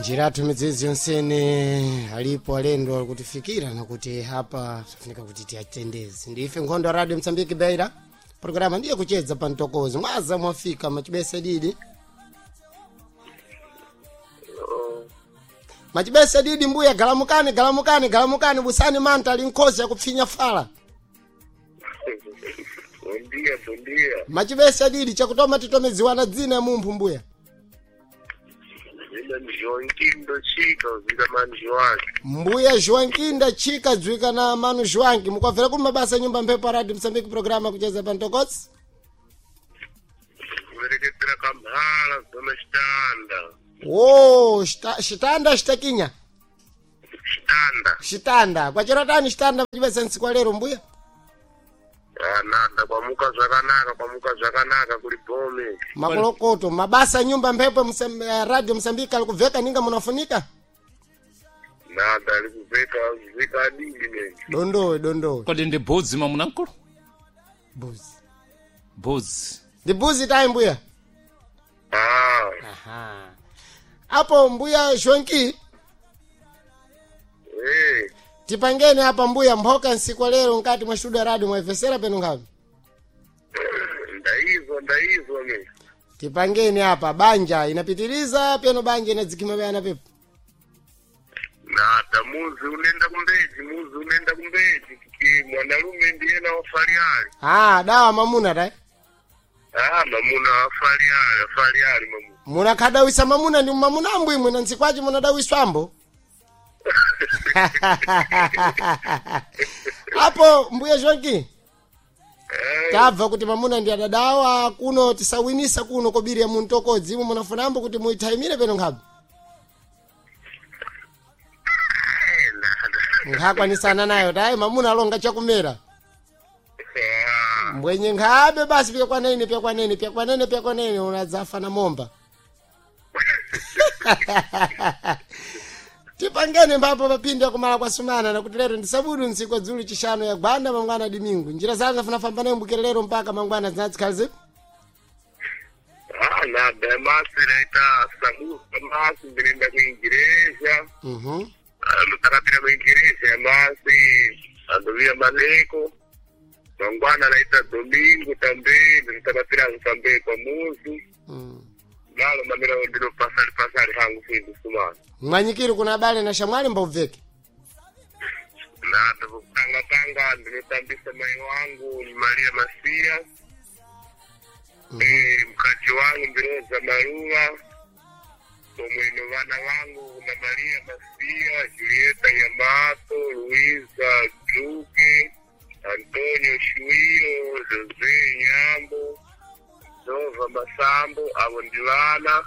Njiratu midzidzi yonsene alipo alendo alikutifikira nakuti hapa tafunika kuti tiyatendeze. Ndife nkhondo ya Radio Msambiki Beira. Programa ndiye kuchedza pa mtokozo. Mwaza mwafika machibese didi. Machibese didi mbuya galamukani galamukani galamukani busani manta ali nkhozi yakupfinya fala. Bom dia, bom dia. Machibese didi chakutoma titomedziwana dzina ya mumphu mbuya. Ine ndi Joaquim Chika, zika mani Joaquim. Mbuya Joaquim Chika dzwika na manu Joaquim mukwabvera ku mabasa nyumba mphepo Radio Msambiki programa kucheza pa mtokozi. Kuvereketera kamhala zona chitanda. Wo, shitanda shitakinya. Chitanda. Shitanda. Kwachera tani shitanda chibesa ntsiku lero mbuya. Ananda kwamuka zvakanaka, kwamuka zvakanaka kuli bome. Makolokoto mabasa nyumba mphepo Radio Msambiki alikuveka ninga munafunika. Nada alikuveka veka adidi ne. Dondowe dondowe. Kodi ndi bhuzi mamunamkulu? Buzi. Bhuzi. Ndi buzi tayi mbuya. Ah, Aha. Apo mbuya Joaquim eh, tipangeni apa mbuya mphoka nsiku lero nkati mwa studio ya radio mwaivesera penu ngapi? ndaizwa ndaizwa ne. Tipangeni apa banja inapitiriza peno banja inadzikima bayana pepo. Nada muzi unenda kumbeji, muzi unenda kumbeji. Kiki mwanalume ndiyena wafaliali. Ah, dawa mamuna tayi. Ah, mamuna wafaliali, wafaliali mamuna. Munakhadawisa mamuna ndi mamuna ambwimwe na nsikwaci munadawiswambo. Apo mbuya Joaquim Eh, tabva kuti mamuna ndi adadawa kuno tisawinisa kuno kobiri ya muntokodzi imwe munafunambo kuti muithaimire peno nkhabe. eh, nada. Nkhakwanisana nayo tayi mamuna alonga chakumera. Ah. Mbwenye nkhabe basi pyakwanene pyakwanene pyakwanene pyakwanene unadzafa na momba. Tipangene mbapo papindi akumala kwasumana nakuti lero ndi sabudu ntsiku dzulu chishanu ya gwanda mangwana dimingu njira zazo afunafamba nayo mbukira lero mpaka mangwana zinatsikhala zipo. Ah, nada, masi naita sabusa masi ndinoenda kuingireja. Ndakapira kuingireja masi andoviya maleko. Mangwana naita domingo tambe ndinotakapira tambe pamuzi. Nalo mamira ndino pasali pasali hangu sindu sumana. Mwanyikiri kuna abale na shamwali mbaubveke. Nada kutanga tanga ndinotambisa mai wangu ni Maria Masia. Eh, mkaji wangu ndiroza Marua pomwe no vana vangu na Maria Masia, Julieta Yamato, Luiza Duque, Antonio Shuiro, Jose Nyambo, Nova Masambo, avo ndi vana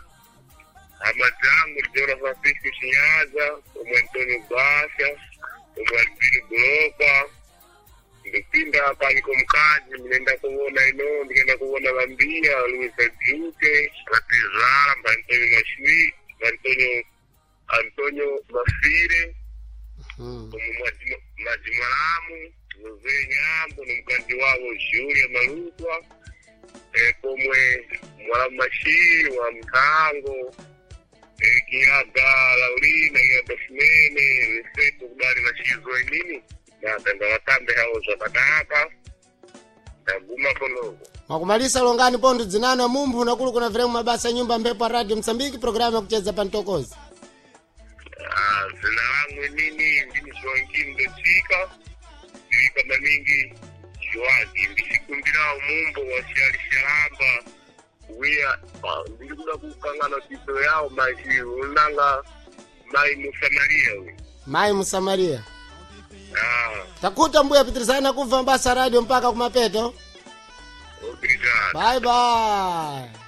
hama dzangu ndiona Francisco Chinyaza, pomwe Antonio Basha, pomwe Albino Gulopa ndipinda paniko mkazi ndinoenda kuona ino ndikaenda kuona vambiya Luisa Duque vatizvara mbaantonio Mashui Antonio Antonio Mafire omwe Majimwalamu Jose Nyambo nomukadzi wavo Julia Malutwa pomwe Mwalamu Mashiri wa Mthango Kiaga Laurina Kiaga Simene vesepo kudali vachizwa inini nada ndavatambe hawo zvakanaka ndaguma konoko. Mwakumalisa longani pontho dzinano mumphu nakulu kuna viremu mabasa nyumba mphepo ya Radio Msambiki programu yakucheza pa mtokozi. Ah, zina langu inini ndini Joaquim Ndechika ndilika maningi Joaquim ndichikumbirawo mumbo wa Shali Shalamba wiya ndiri kuda kukangana tito yawo machi unanga mai Musamaria uyu. Mayi Musamaria. Ah, Takuta mbuya pitirizana kubva mabasa radio mpaka kumapeto. obrigado. Bye bye.